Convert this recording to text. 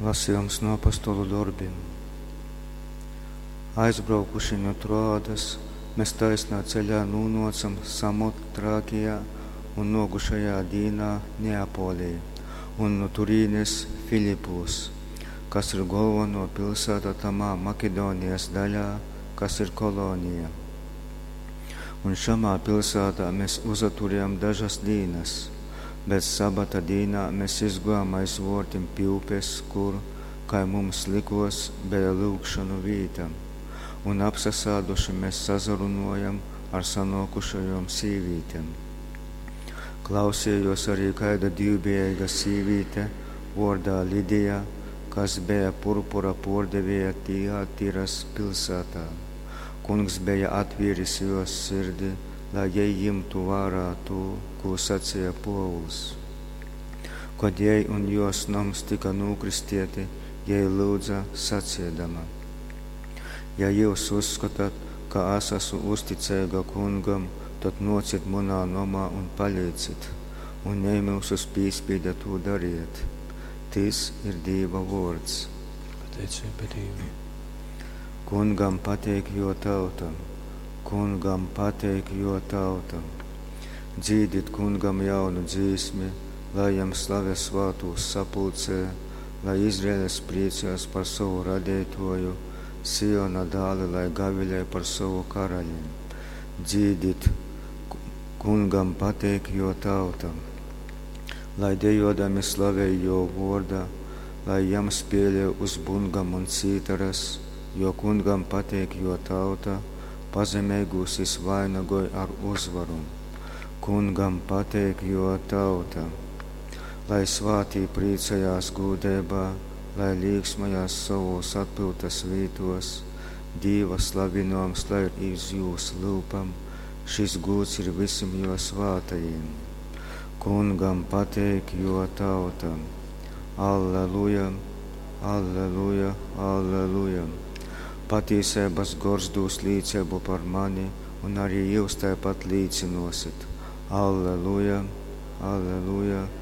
Lasejums nu Apostolu dorbim. Aizbraukuši nu Troadas, mes taisnā ceļā nūnōcam Samotrākijā un nōkušajā dīnā Neapolī, un nu turīnes Filipūs, kas ir golvonō pilsāta tamā Makedonijas daļā, kas ir kolonija. Un šamā pilsātā mes uzaturējam dažas dīnas. Bet sabata dīnā mes izgōjam aiz vōrtim pi upes, kur, kai mums lykōs, beja lyugšonu vīta. Un apsasāduši mes sasarunōjam ar sanōkušajom sīvītem. Klausejōs arī kaida dīvbejeiga sīvīte, vōrdā Lidija, kas beja purpura pōrdevēja Tijatiras pilsātā. Kungs beja atvīris jōs sirdi, lai jei jimtu vārā tū, kū saceja Pōvuls. Kod jei un jōs noms tyka nūkristeiti, jei lyudza, saceidama, Ja jyus uzskotat, ka es asu uzticeiga Kungam, tod nōcit munā nomā un palicit. Un jei myusus pīspīde tū dariet. Tys ir Dīva vōrds. Pateiceiba Dīvam. Kungam pateik jō tauta. Kungam pateik jō tauta. Dzīdit Kungam jaunu dzīsmi, lai jam slave svātūs sapulcē, lai Izraels prīcojas par sovu Radeitōju, Siona dāli lai gavilej par sovu Karali. Dzīdit, Kungam pateik jō tauta. Lai dejōdami slavej jō vōrda, lai jam spēlej uz bungom un cītaras, jo Kungam pateik jō tauta, pazemeigūs jys vainagoj ar uzvaru. Kungam pateik jō tauta. Lai svātī prīcojās gūdeibā, lai līksmojās sovōs atpyutas vītōs, Dīva slavinōjums lai ir iz jūs lyupam, šys gūds ir visim jō svātajim. Kungam pateik jō tauta. Alleluja, alleluja, alleluja. Patīseibas Gors dūs līceibu par mani, un arī jyus taipat līcynōsit. Alleluja, alleluja, alleluja.